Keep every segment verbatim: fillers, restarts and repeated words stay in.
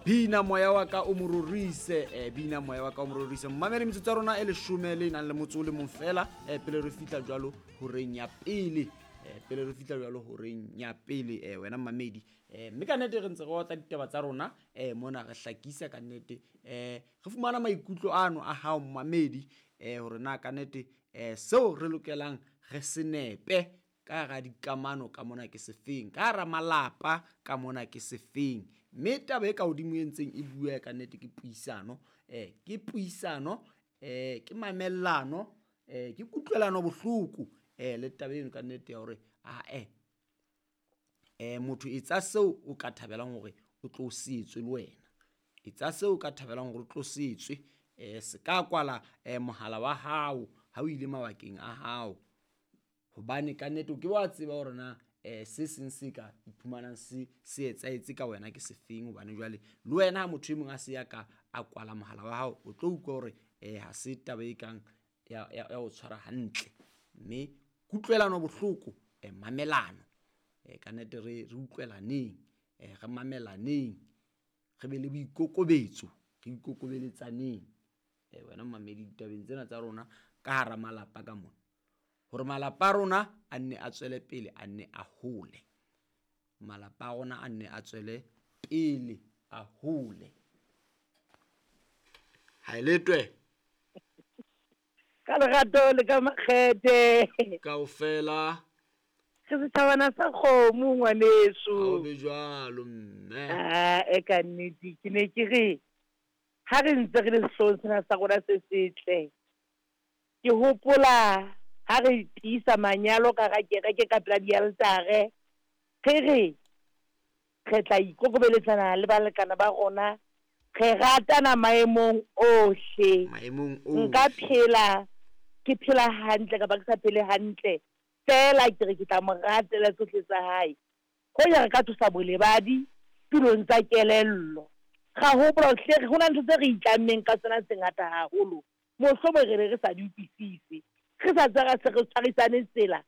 Bina moya wa ka o mo rorise, eh, bina moya wa ka o mo rorise. Mmamedi, metsotso ya rona e leshome le nang le motso o le mong fela, eh, pele re fihla jwalo horeng ya pele. Eh, pele re fihla jwalo horeng ya pele, eh, wena mmamedi. Eh, mme ka nnete re ntse re otla ditaba tsa rona, eh, mona re hlakisa ka nnete. Eh, re fumana maikutlo ano a hao mmamedi, eh, hore na ka nnete, eh, seo re lokelang re se nepe ka hara dikamano ka mona ke sefeng, ka hara malapa ka mona ke sefeng. Mme taba e ka hodimo e ntseng e bua ka nnete ke puisano, eh, ke puisano, eh, ke mamellano, eh, ke kutlwelano bohloko, eh, le taba eno ka nnete ya hore, ah, eh, eh, motho etsa seo o ka thabelang hore o tlo se etswe le wena. Etsa seo o ka thabelang hore o tlo se etswe, eh, se ka kwala, eh, mohala wa hao ha o ile mabakeng a hao. Hobane ka nnete o ke wa tseba hore na, eh, se seng se ka iphumanang se, se etsahetse ka wena ke sefeng. Hobane jwale le wena ha motho e mong a se ya ka a kwala mohala wa hao, o tlo utlwa hore, eh, ha se taba e kang ya, ya, ya ho tshwara hantle. Mme kutlwelano bohloko, eh, mamelano, eh, ka nnete re, re utlwelaneng, eh, re mamelaneng, re be le boikokobetso, re ikokobelletsaneng. Eh, wena mmamedi ditabeng tsena tsa rona ka hara malapa ka mona, hore malapa a rona a nne a tswele pele, a nne a hole. Malapa a rona a nne a tswele pele, a hole. Ha e letwe. Ka lerato le ka makgethe. Kaofela. Re setjhabana sa kgomo, ngwaneso. Ha o be jwalo, mme. Ah, e ka nnete, ke ne ke re, ha re ntse re le sehloohong sena sa rona se setle, ke hopola ha re tiisa manyalo ka hara kereke ka pela dialtare, re re re tla ikokobeletsana le balekane ba rona, re ratana maemong ohle. Maemong Nka ohle. phela, ke phela hantle kapa ke sa phele hantle, fela ke re ke tla mo ratela tsohle tsa hae. Hoja re ka tlosa bolebadi tulong tsa kelello, ra hopola hore hle ho na le ntho tse re itlammeng ka tsona tse ngata haholo, mohlomong re ne re sa di utlwisise, re sa tswa ra se re tshwarisane tsela,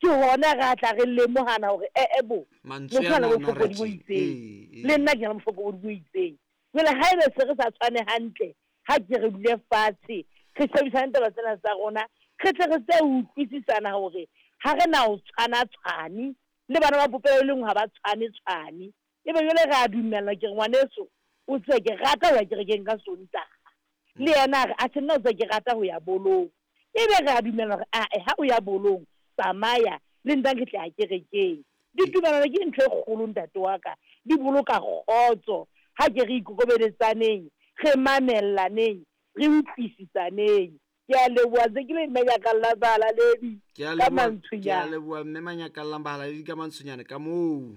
ke hona re tla re lemohana hore eh, eh, bo, Mantswe motho a na ana le a bofokodi bo narrative. itseng. Ee, ee. Le nna ke na le bofokodi bo itseng. Jwale ha ebe se re sa tshwane hantle, ha ke re dule fatshe, re shebisane taba tsena tsa rona, re tle re tse utlwisisana hore ha re na ho tshwana tshwane, le bana ba popelo e le nngwe ha ba tshwane tshwane. Ebe jwale re a dumellana, ke re ngwaneso, o tsebe ke rata ho ya kerekeng ka Sontaha. Le yena a re, atjhe nna o tsebe ke rata ho ya bolong. Ebe re a dumellana hore, ah, ha o ya bolong, tsamaya, le nna ke tla ya kerekeng. Ditumellano ke ntho e kgolo, ntate wa ka, di boloka kgotso. Ha ke re ikokobelletsaneng, re mamellaneng, re utlwisisaneng. Ke a leboha, ntse ke le mme Nyakallang Bahalaledi Ke a ka leboha, ke a Mantsonyane. leboha mme Manyakallang Bahalaledi ka Mantsonyane ka moo.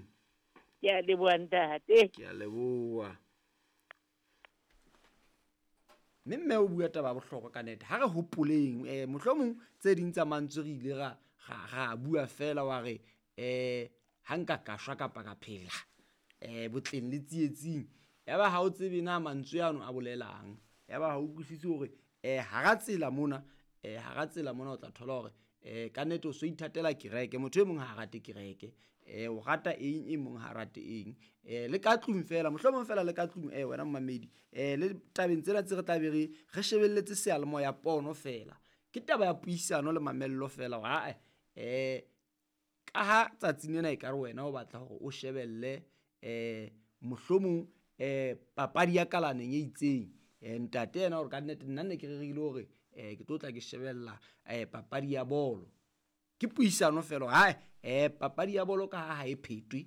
Ke a leboha ntate. Ke a leboha. Mme mme o bua taba ya bohlokwa ka nnete. Ha re hopoleng, eh, mohlomong tse ding tsa mantswe re ile ra, ra, ra bua fela wa re, eh, ha nka ka shwa kapa ka phela, eh, botleng le tsietsing. Yaba ha o tsebe na mantswe ano a bolelang. Yaba ha o utlwisise hore, eh, hara tsela mona, eh, hara tsela mona o tla thola hore, eh, ka nnete o so ithatela kereke. Motho e mong ha a rate kereke. Eh, o rata eng, e mong ha a rate eng. Eh, le ka tlung fela, mohlomong fela le ka tlung, eh, wena mmamedi, eh, le tabeng tsena tse re tla be re, re shebelletse seyalemoya pono fela. Ke taba ya puisano le mamello fela hore, ha-eh, eh, ka ha tsatsing lena ekare wena o batla hore o shebelle, eh, mohlomong, eh, papadi ya kalaneng e itseng. Eh, ntate yena hore ka nnete nna ne ke rerile hore, eh, ke tlo tla ke shebella, eh, papadi ya bolo. Ke puisano fela hore, ha-eh, eh, papadi ya bolo ka ha ha e phetwe,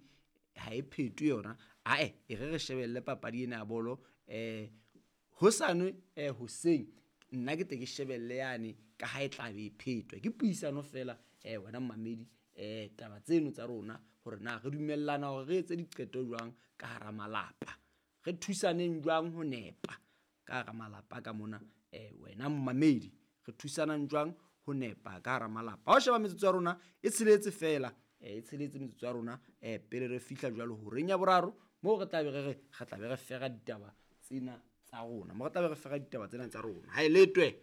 ha e phetwe yona, ha-eh, e re re shebelle papadi ena ya bolo, eh, hosane, eh, hoseng nna ke tle ke shebelle yane ka ha e tla be e phetwa. Ke puisano fela, eh, wena mmamedi, eh, taba tseno tsa rona hore na re dumellana hore re etse diqeto jwang ka hara malapa, re thusaneng jwang ho nepa ka hara malapa ka mona, eh, wena mmamedi, re thusanang jwang ho nepa ka hara malapa. Ha o sheba metsotso ya rona e tsheletse fela, eh, e tsheletse metsotso ya rona, eh, pele re fihla jwalo horeng ya boraro, moo re tla be re re, re tla be re fera ditaba tsena tsa rona, moo re tla be re fera ditaba tsena tsa rona. Ha e letwe.